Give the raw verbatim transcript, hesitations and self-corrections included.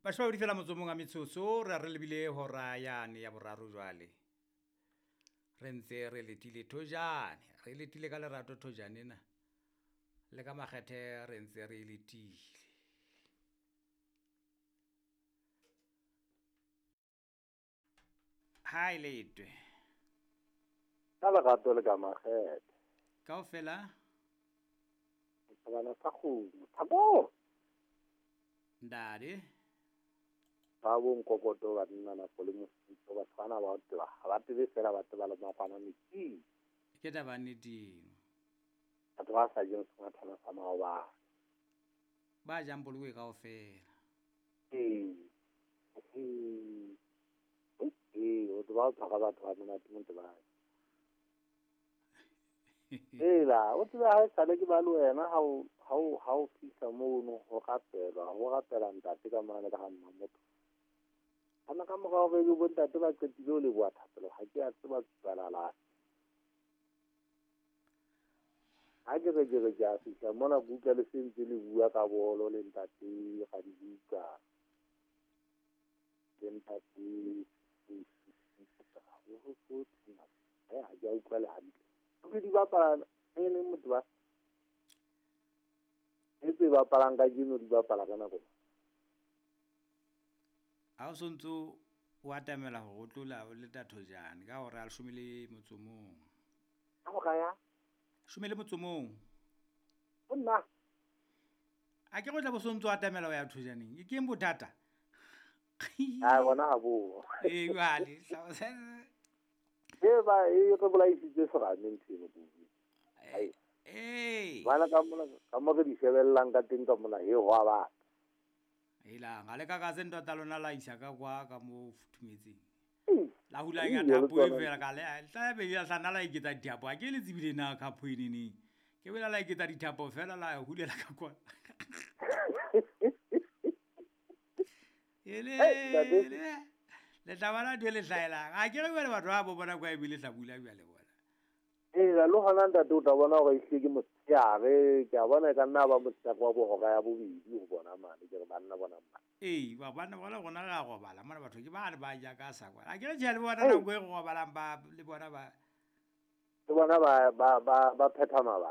Mashome a mabedi fela motso o mong a metsotso re re lebile hora yane ya boraro jwale. Re ntse re letile thojane, re letile ka lerato thojane ena. Le ka makgethe re ntse re letile. Ha e letwe. Ka lerato le ka makgethe. Kaofela? Thabana sa kgomo. Thabo! Ndade. Ba bo nkokoto ba nna nako le mofutho, batho bana ba o tseba, ha ba tsebe fela ba tseba le makwana metsing. Ke taba nnete eno. Batho ba sa jeng sengwathana sa maobane. Ba jang bolokwe kaofela. Ee. Ee. Ee, o tseba o tshwara batho ba monate mo tebang. Ela, o tseba ha esale ke ba le wena ha o, ha o, ha o fihla mono ho rapelwa, ho rapela ntate ka mane ka ha mma motho. Ana ka morao re bo ntate ba qetile ho leboha thapelo, ha ke a tseba tswalala. Ha ke re ke re ke a fihla mona buka le sentse le bua ka bolo le ntate ga di buka. Le ntate eh ha ke a utlwa le hantle. Ke di bapala e le motho ba e tse bapalang ka jeno di bapala ka nako. Ha o sontso o atamela hore o tlola o leta thojane ka hora ya leshome le motso o mong. Ka hora ya? Leshome le motso o mong. Ho nna. A ke go tla bo sontso o atamela ho ya thojaneng. E keng bothata? Ha bona ha bo. Ee, jwale. E ba e re bolaisitse serame ntho eno kudu. Ee. Ee. Bana ka mona ka mo re di shebellang ka teng ka mona he ho a batla. Helang, ha le ka ka se ntwa tsa lona la isa ka kwa ka mo futhumetseng. Ee. La hulanya Ee, thapo e le tsona. fela ka le tla be ya hlana la iketsa dithapo. Ha ke le tsebile na khapo e neneng. Ke bela la iketsa dithapo fela la hulela ka kwa. Ele Hey, ntate. le le tla bona ntho e le hlahelang. Ha ke re jwale batho ba bo bona kwa ebile hlabula jwale bona. Ee, le hona ntate o tla bona hore ehlile ke motshehare, ke a bona e ka nna ba motshehare wa bohora ya bobedi ho bona mane, ke re banna bona mane. Ee, ba banna bona rona re a robala mona batho ke ba re ba ja ka sa kwa. Ha ke re tjhe le bona Hey. nako e re robalang ba le bona ba Le bona ba ba ba ba phetha mabaka.